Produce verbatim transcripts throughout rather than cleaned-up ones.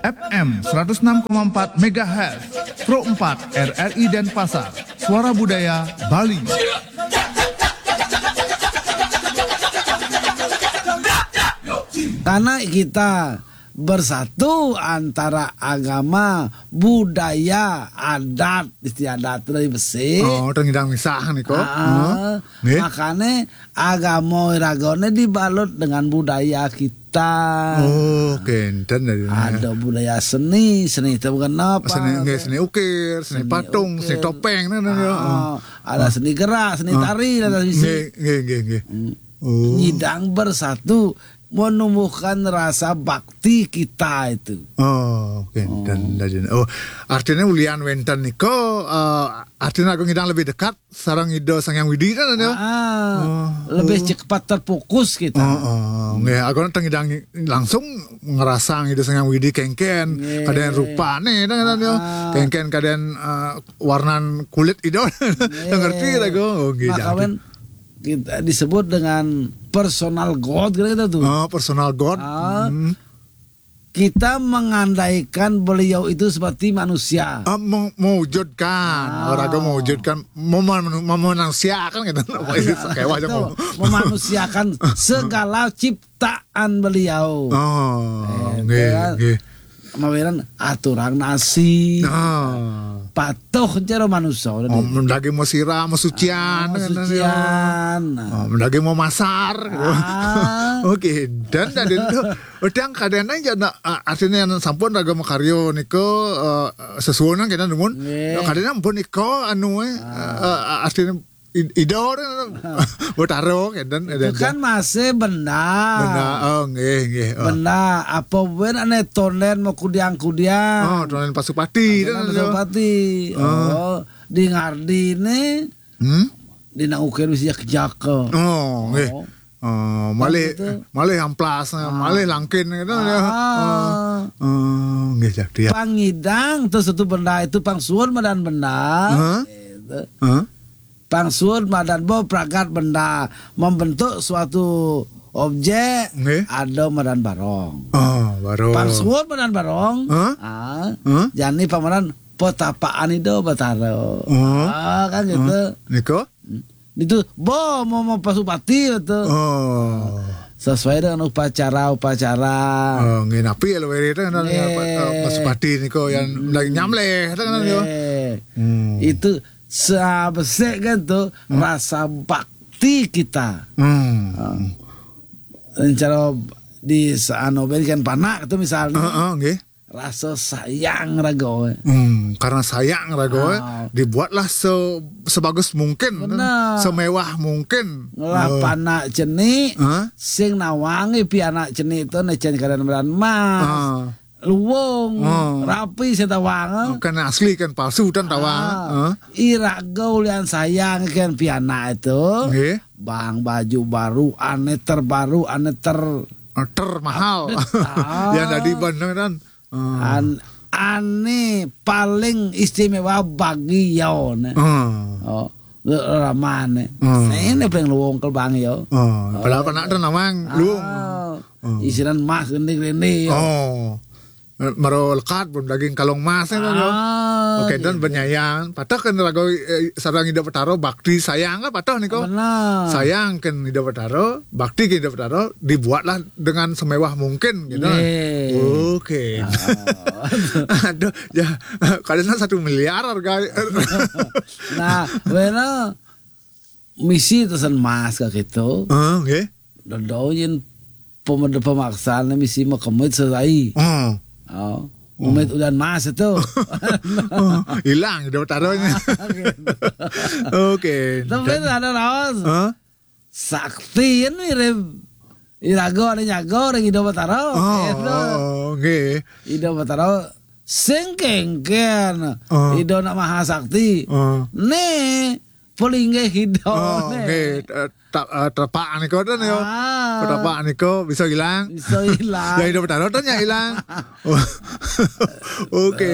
F M seratus enam koma empat megahertz, Pro empat R R I Denpasar, Suara Budaya Bali. Karena kita bersatu antara agama, budaya, adat, istiadat dari besi. Oh, tengidang misah nih kok. Ah, Nggih. Makanya agama iraga ne dibalut dengan budaya kita. Oh, kenten dari Ada budaya seni, seni itu bukan apa? Seni, nggih, seni ukir, seni, Seni patung, ukir. Seni topeng, nah, nah, ya. Ah, ada seni gerak, seni tari, ada sisi. Nggih, nggih, nggih, nggih. Oh. Nyidang bersatu menumbuhkan rasa bakti kita itu. Oh, kenten dari. Oh, artinya ulian wenten nika, eh, artinya aku ngidang lebih dekat sareng Ida Sang Hyang Widi kan ya. Ah, Oh. Lebih cepat terfokus kita. Oh, oh, nggih, aku tengidang langsung ngerasa Ida Sang Hyang Widi kengken, Nggih. Kadén rupane kan ya. Ah. Kengken kadén, eh, warnan kulit Ida. Ngerti lah aku. Oh, nggih. Maka Jadi. Wen, kita disebut dengan personal God, kira-kira tuh. Oh, personal God. Ah. Hmm. Kita mengandaikan beliau itu seperti manusia. Ah, mau mewujudkan, Ah. Olahraga mewujudkan, mem- memanusiakan gitu. Apa itu? Kayak wajah Itu mau. Memanusiakan segala ciptaan beliau. Oh, Eh, nggih, kan? Nggih. Mawiran aturan nasi. Ah. Patuh cara manusia. Oh, mendaki mau sirah, mau sucian, Ah, kan, ya. sucian. Oh, mendaki mau masar. Ah. Oke, dan tadi itu udah kadén aja nak, ah, artinya yang sampun raga makaryo niko, eh, sesuunan kita numun. Nggih. Kadén ampun niko anu eh, eh, artinya id- Ida orang Betara kenten. Itu kan masih benda. Benda, oh nggih, nggih. Oh. Benda apa ben ane tonden mau kudiang-kudiang. Oh, tonden Pasupati. Tonden Kan, Pasupati. Ah. Oh, di ngardi ne Hmm? di nang ukir wis jaka. Oh, nggih. Oh. Oh, malih Gitu. malih amplas, malih langkin gitu ya. Ah. Oh, nggih, jadi ya. Pangidang terus itu benda itu pangsuwun madan benda. Hah? Gitu. Hah? Pangsuwun madan bo pragat benda membentuk suatu objek Nggih. ada madan barong. Oh, baru. Pangsuwun madan barong. Hah? Ah. Hah? Jani pamadan petapaan Ida Betara. Oh. Ah, kan gitu. Niko? Itu bo mau mau Pasupati itu. Oh. Sesuai dengan upacara-upacara. Oh, nggih, napi ya lho, Wiri, kan, Nggih. eh, Pasupati niko yang lagi nyamleh, kan, ya. Eh, Hmm. Itu sabesek kan tuh rasa bakti kita. Hmm. Rencana di anu berikan panak itu misalnya. Heeh, nggih. Rasa sayang raga. Hmm, karena sayang raga, Ah. dibuatlah se sebagus mungkin, Benar. semewah mungkin. Ngelah Oh. panak cenik, Hah? Sing nawangi pianak cenik itu necen kadén madan emas. Ah. Luwung, Ah. Rapi sing tawang. Kan asli kan palsu kan tawang. Ah. Hah? Iraga ulian sayang kan pianak itu. Nggih. Bang baju baru, ane terbaru, ane ter Termahal. Ah. Yang tadi bandeng kan. Ah. An ane paling istimewa bagi yaone. Ah. Oh, ramane. Hmm. Ini paling luwung ke bang yo. Oh, padahal panak tu nawang luwung. Ah, Isinan emas gini-gini. Oh. Maro lekat pun daging kalung emas kan, ya. Ah, Oke, dan gitu. Benyayan, patah kan raga, eh, sarang Ida Betara, bakti sayang kan patah niko. Benar. Sayang kan Ida Betara, bakti kan Ida Betara, dibuatlah dengan semewah mungkin gitu. Nggih. Oke. Aduh, ya, kadang satu miliar harga. Nah, wena misi tesen emas ke gitu. Oh, oke. Dodo yen pemede pemaksaan misi mekemit selai. Oh. Oh, umit udan emas itu. Oh, hilang Ida Betaranya. Oke. Tapi ada raos. Hah? Sakti ini mirip iraga ada nyaga orang Ida Betara. Oh, Gitu. oh, oke. Ida Betara sing kengken. Oh. Ida nak maha sakti. Oh. Nih, pelinggih Ida. Oh, Nih. oke. Eh, ta- eh, Telapak niko tu ya. Ah. Telapak niko bisa hilang. Bisa hilang. Ya, Ida Betara tu nya hilang. Oke.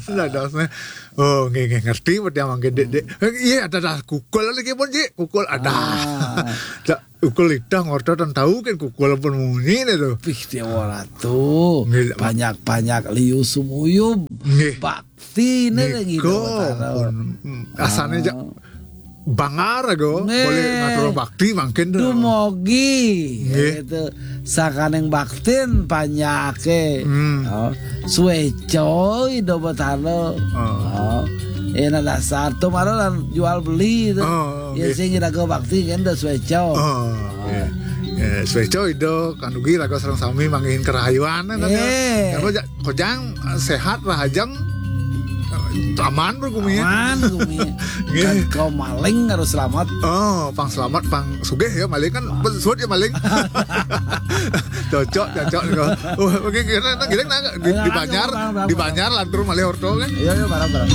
Lah dasnya. Oh, nggih, nggih, ngerti berarti yang mangke dek dek. Iya, ada dah kukul lagi pun, Ji. Kukul ada. Ah. Tak Ukul litah ngorta tan tahu kan kukul pun munyi nih tuh. Pih, dia ora tuh. Nggih. Banyak-banyak liu sumuyub. Nggih. Bakti nih lagi. Nika pun, mm, asane ja-, bangar ago. Nggih. Boleh ngatur bakti mangkin tuh. Dumogi. Nggih. Gitu. Sakaning baktin panyake. Hmm. Oh. Sueco Ida Betara. Oh. Oh. Ena dasar tuh malah lan jual beli tuh. Oh, ya, nggih. Sing iraga bakti kan udah sueco. Oh, iya. Ya, sueco Ida kanugi raga sareng sami manggihin kerahayuan, kan, ya. Eh. Apa, ja-, kojang, eh, sehat, rahajeng, eh, aman, bro, gumi, ya. Aman, gumi. Nggih. Kan kau maling harus selamat. Oh, pang selamat, pang sugih ya, maling kan, suut ya maling. Cocok, cocok, nih, kau. Oh, oke, kira, kira, nah, di, ayo, di ayo, Banjar, barang, barang, di barang. Banjar, lantur malih orto, kan? Iya, iya, barang, barang.